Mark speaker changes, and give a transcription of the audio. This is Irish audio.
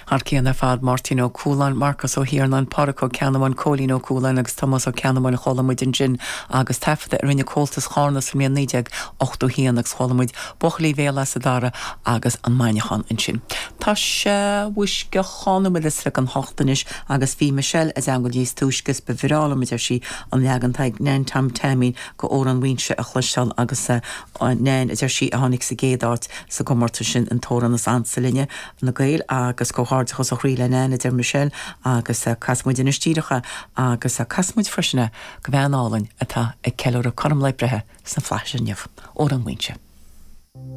Speaker 1: Thar cionn ar fad, Máirtín Ó Cualáin, Marcas Ó hIarnáin, Pádraic Ó Ceannabháin, Cóilín Ó Cualáin agus Tomás Ó Ceannabháin a chuala muid ansin agus taifeadadh a rinne Comhaltas Chárna sa mbliain 1981 agus chuala muid Buachaillí Bhéal Easa Dara agus An Maidhneachán ansin. Tá sé mhuisce dhá nóiméad is fiche don hocht anois agus bhí Michelle i dteangmháil níos túisce is ba bhreá liom, a deir sí, an leagan Tadhg Nan Tom Taimín go Amhrán Mhaínse a chloisteáil agus Nan, a deir sí, a tháinig sa gcéad áit sa gcomórtas sin, an t-amhrán is ansa linne. na Gaeil agus comhghairdeachas ó chroí le Nan, a deir Michelle, agus casfaidh muid anois díreach é agus casfaidh muid freisin é go bhean álainn atá ag ceiliúradh cothrom lae breithe sna flaithis inniu. Amhrán Mhaínse.